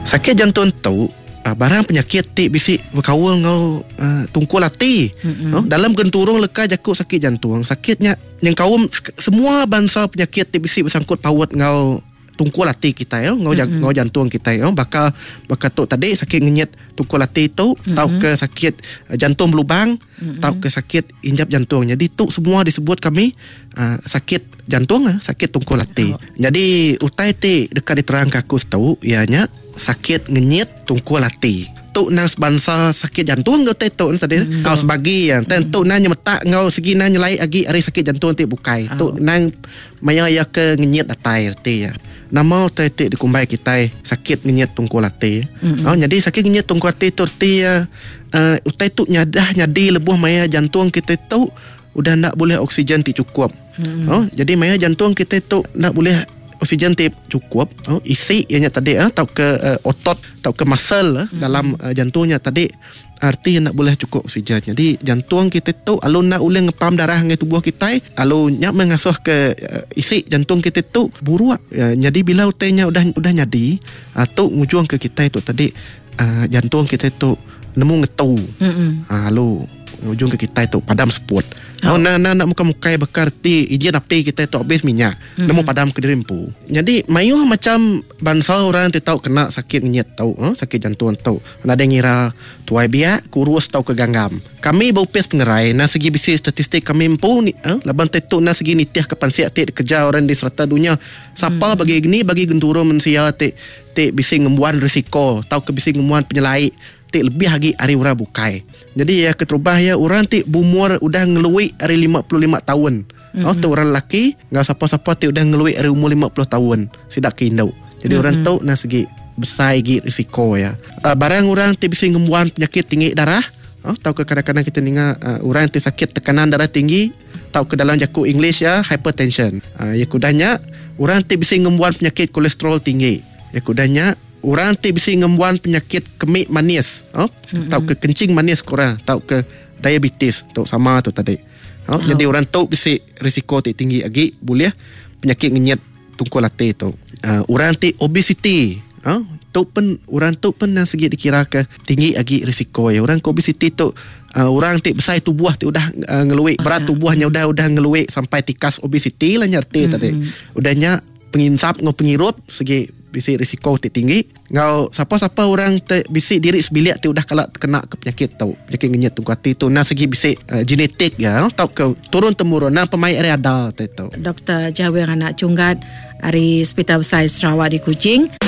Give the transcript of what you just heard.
Sakit jantung tu barang penyakit ti bisi bekaul enggau tungkul ati. Dalam genturung leka jaku sakit jantung, sakit nya nyengkaum semua bansa penyakit ti bisi besangkut paut enggau tungkul ati kitai enggau enggau jantung kitai baka baka tu tadi sakit ngenyit tungkul ati tu tauka sakit jantung belubang tauka sakit injap jantung. Jadi tu semua disebut kami sakit jantung sakit tungkul ati. Jadi utai ti deka diterangka aku tu iya nya sakit ngenyit tungkul ati. Tu nang sebansa sakit jantung ke utai tu tadi tau sebagi iya. Tu nang nyemetak enggau segi nang nyelai agi ari sakit jantung ti bukai. Tu nang Maya iya ke ngenyit datai reti iya. Nama utai ti dikumbai kitai sakit ngenyit tungkul ati. Mm-hmm. Oh, nyadi sakit ngenyit tungkul ati tu reti iya uh, utai tu nyadah nyadi lebuh maya jantung kitai tu udah enda bulih oksigen ti chukup. Mm-hmm. Oh, jadi maya jantung kitai tu enda bulih oksigen ti chukup, oh, isi iya nya tadi uh, tauka uh, otot tauka muscle uh, mm-hmm. dalam uh, jantung nya tadi Arti enda bulih chukup oksigen. Nyadi jantung kitai tu alu enda ulih ngepam darah ngagai tubuh kitai alu nya meh ngasuh ke isi jantung kitai tu buruk. Nyadi bila utai nya udah udah nyadi tu ngujung ke kitai tu tadi jantung kitai tu nemu ngetu alu ngujung ke kitai tu padam seput. Enda enda mukai mukai baka reti ijin api kitai tu abis minyak. Nemu padam kediri empu. Nyadi mayuh macam bansa orang ti tau kena sakit ngenyit tu, sakit jantung tu. Nadai ngira tuai biak, kurus tauka ganggam. Kami ba opis pengerai endang sigi bisi statistik kami empu laban ti tu endang sigi nitihka pansik ti dikereja orang di serata dunya. Sapa bagi ni bagi genturung mensia ti ti bisi ngembuan risiko tauka bisi ngembuan penyelai ti lebih agi ari orang bukai. Nyadi iya keterubah iya orang ti beumur udah ngelui ari 55 taun. Mm-hmm. Oh, tu orang lelaki enggau sapa-sapa ti udah ngelui ari umur 50 taun sida ke indu. Jadi mm-hmm. orang tu nah segi besai agi risiko iya. Barang orang ti bisi ngembuan penyakit tinggi darah, oh, tauka kadang-kadang kita ninga uh, orang ti sakit tekanan darah tinggi tauka dalam jaku English ya hypertension. Uh, ya kudah nya orang ti bisi ngembuan penyakit kolesterol tinggi. Ya kudah nya Orang ti bisi ngembuan penyakit kemik manis oh, mm-hmm. tauka kencing manis ku orang tauka diabetes tu sama tu tadi. Oh, oh. Jadi orang tu bisi risiko ti tinggi agi bulih penyakit ngenyit tungkul ati tu. Uh, orang ti obesity oh, tu pen orang tu pen nang segi dikira ke tinggi agi risiko ya. Orang ke obesity tu uh, orang ti besai tubuh ti udah uh, ngelui berat tubuhnya udah udah ngelui sampai tikas obesity lah nya reti mm-hmm. tadi. Udah nya Penginsap enggau pengirup sigi bisi risiko ti tinggi enggau sapa-sapa orang ti bisi diri sebilik ti udah kala tekena ke penyakit tu. Penyakit ngenyit tungku ati tu endang sigi bisi genetik iya tauka turun temurun endang pemai ari ada ti tu. Doktor Jawing Anak Chunggat ari Sepital Besai Sarawak di Kuching.